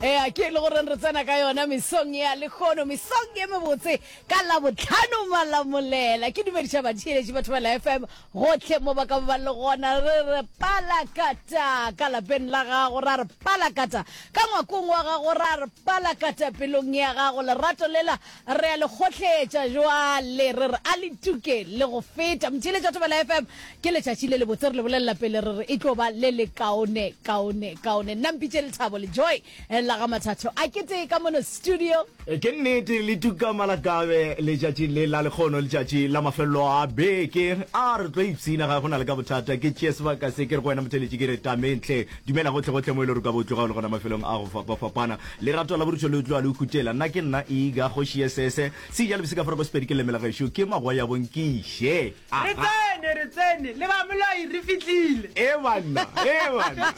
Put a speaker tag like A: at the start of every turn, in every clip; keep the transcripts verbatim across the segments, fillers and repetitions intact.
A: Ea ke e le goreng re tsena ka yona mesong ya lekgono, mesong ye mebotse ka Labohlano Malamolela. Ke dumediša batheeletši ba Thobela F M gohle mo ba ka ba le gona. Re re palakata ka lapeng la gago, ra re palakata ka ngwakong wa gago, ra re palakata pelong ya gago. Lerato lela re a le kgohletša jwale, re re a le tuke le go feta. Motheeletši wa Thobela F M, ke letšatši le lebotse, re le bolelela pele re re e tlo ba le le kaone, kaone, kaone. Nna mpitše Lethabo le Joy la ga Mathatho a ke tee ka mono studio.
B: Ke nnete le tuka malakabe letšatši le la lekgono, letšatši la mafelelo a beke. A re tlo ipshina, ga go na le ka bothata. Ke tšee sebaka se ke re go wena motheeletši ke re tamentle. Dumela gohle gohle mo e le gore o ka bo tloga o le gona mafelong a go fapafapana. Lerato la borutho le tloga le o khutela. Nna ke nna Iga kgoši ye sese. Seja le bosika farako sepedi ke leme la gešo ke magoa ya bonkiše.
C: Re tsene, re tsene, le ba moloi re fihlile.
B: E banna, e banna.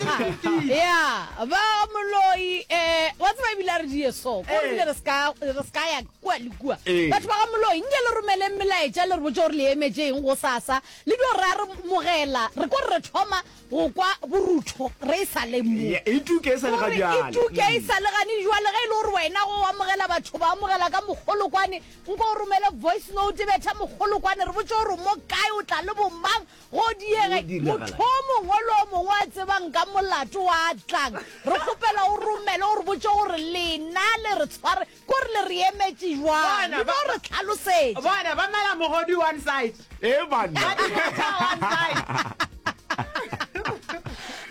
A: Ya, ba moloi, eh, wa tseba ebile a re die so, ko re bile re ska, re ska ya kua le kua. Batho ba ga moloi, nke le romeleng melaetša le re botše gore le emetše eng gosasa, le dio re a re mogela, re ko re re thoma go kwa borutho re e sa le mo.
B: Ya, e tuke e sa le ga
A: Gore e
B: bjale.
A: tuke e sa le gane jwale, ge e le gore wena go amogela batho ba amogela ka mokgolokwane, nko o romele voice note, betha mokgolokwane, re botše gore o mo kae, o tla le bomang, go diege.
B: Go diragala.
A: Motho o mongwe le o mongwe a tsebang ka molato wa tlang, re kgopela o romele o re botše gore lena le re tshware, kore le re emetše jwang,
C: Bona,
A: le
C: ba-
A: no re hlalosetša.
C: Bona, ba mela mogodu one side.
B: E banna.
C: Ba di botha one side.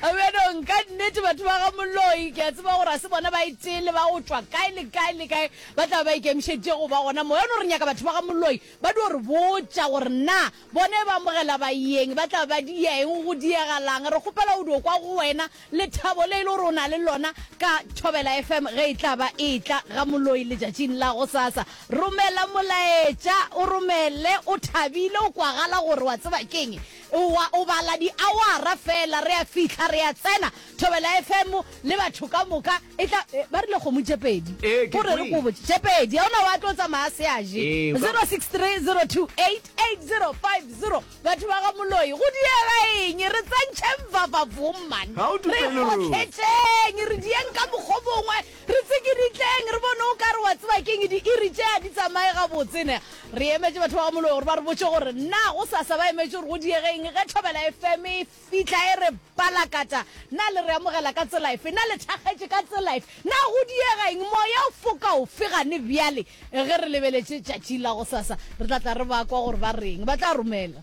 A: Bjanong ka nnete batho ba ga moloi ke a tseba gore a se bona ba e tee le ba go tšwa kae le kae le kae ba tla ba ikemišeditše go ba gona mo. Yano re nyaka batho ba ga moloi ba dio re botša gore na bone ba amogela baeng ba tla ba dia eng, go diegalang. Re kgopela go dio kwa go wena lethabo le e le gore o na le lona ka Thobela F M ge e tla ba e tla ga moloi letšatšing la gosasa. Romela molaetša, o romele o thabile, o kwagala gore wa tseba keng, o, o bala diawara fela, re a fihla, re a tsena Thobela F M le batho ka moka. E tla, ba rile kgomo tše pedi,
B: Ee, ke
A: gore re
B: kwele.
A: ko botše tše pedi, ga ona wa tlo tsamaya se a je.
B: Ee, o ka-
A: zero six three zero two eight eight zero five zero. Batho ba ga moloi, go diega eng? Re tsentšheng vavavong man,
B: Ga o
A: re
B: tupe lerole.
A: kgohletšeng, re dieng ka mokgo mongwe, re tsikiritleng, re bone o ka re wa tseba keng, diiri tše a di tsamaye gabotse ne. Re emetše batho ba ga moloi gore ba re botše gore na go sasa ba emetše gore go diege eng ge Thobela F M e fihla e re palakata. Na le re amogela ka tsela efe? Na le thakgetše ka tsela efe? Na go diega eng? Moya o foka ofe gane bjale ge re lebeletše tšatši la go sasa? Re tla tla re ba kwa gore ba reng, ba tla romela.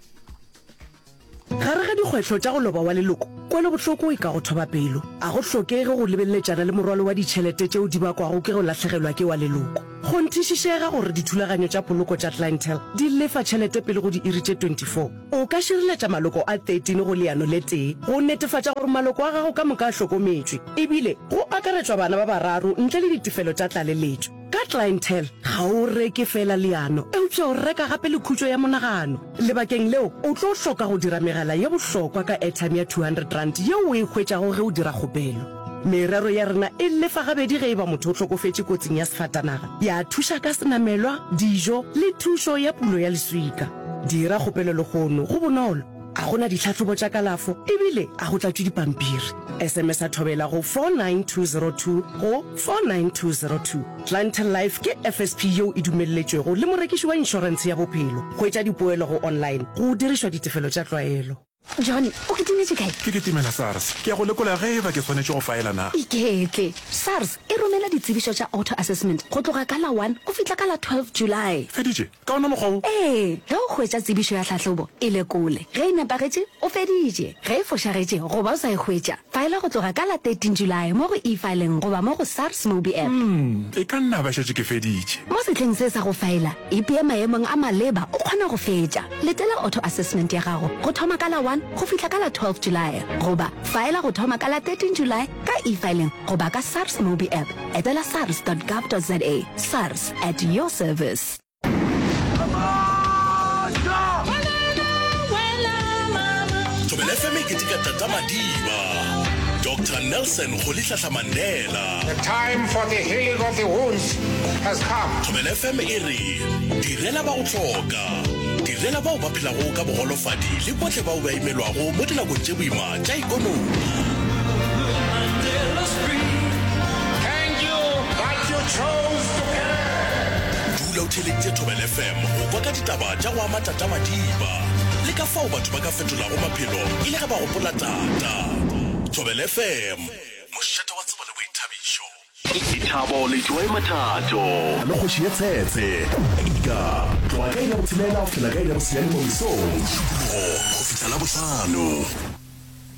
D: Gare ga dikgwetlho tša go loba wa leloko, kwelobohloko e ka go thoba pelo. A go hlokege go lebeletšana le morwalo wa ditšhelete tšeo di bakwago ke go lahlegelwa ke wa leloko. Kgonthišišega gore dithulaganyo tša poloko tša Clientele di lefa tšhelete pele go diiri tše twenty-four. O ka šireletša maloko a thirteen go leano le tee go netefatša gore maloko a gago ka moka a hlokometšwe, ebile go akaretšwa bana ba bararo ntle le ditefelo tša tlaleletšo. Ka Clientele, ga o reke fela leano, eupša o reka gape le khutšo ya monagano. Lebakeng leo, o tlo hloka go dira megala ye bohlokwa ka airtime ya two hundred rand yeo o e hwetšago ge o dira kgopelo. Merero ya rena e lefa gabedi ge e ba motho o hlokofetše kotsing ya sefatanaga, ya thuša ka senamelwa, dijo le thušo ya pulo ya leswika. Dira kgopelo lehono, go bonolo, a go na ditlhahlobo tša kalafo ebile a go tlatšwe dipampiri. S M S a Thobela go four nine two zero two go four nine two zero two. Clientele Life ke F S P yeo e dumelletšwego le morekiši wa inšorentshe ya bophelo. Hwetša dipoelo go online go dirišwa ditefelo tša tlwaelo.
E: John, o kitimetše kae?
F: Ke kitimela SARS. Ke ya go lekola ge e ba ke swanetše go faela na.
E: Iketle. SARS e romela ditsebišo tša auto-assessment go tloga ka la one go fihla ka la twelve July.
F: Feditše? Ka ona mokgwa wo?
E: Ee. Ge o hwetša tsebišo ya tlhahlobo, e lekole. Ge e nepagetše, o feditše. Ge e fošagetše goba o sa e hwetša, faela go tloga ka la thirteen July mo go eFiling goba mo go SARS Mobi App.
F: Hmm, e ka nna ba šetše ke feditše.
E: Mo sehleng se sa go faela, ipee maemong a maleba o kgone go fetša. Letela auto-assessment ya gago go thoma ka la one go fihla ka la twelve July goba faela go thoma ka la thirteen July ka eFiling goba ka SARS Mobi App. Etela sars dot gov dot za. SARS, at your service.
G: Thobela F M e keteka Tata Madiba, Doctor Nelson Rolihlahla Mandela.
H: The time for the healing of the wounds has come.
G: Thobela F M e re direla ba go hloka, direla bao ba phelago ka bogolofadi le bohle bao ba imelwago mo dinakong tše boima tša ikonomi.
H: Thank you
G: theeleditše Thobela FM go kwa ka ditaba tša go ama Tata Madiba le ka fao batho ba ka fetolago maphelo e le ge ba gopola Tata. Thobela FM, mošate wa tsebo le boithabišo.
I: Lethabo le Joy Mathato le Kgoši ye Tshetshe ka tloga ka iri ya botshelela go fihlela ka iri ya bosenyane mo mesong, Mošupologo go fihla Labohlano.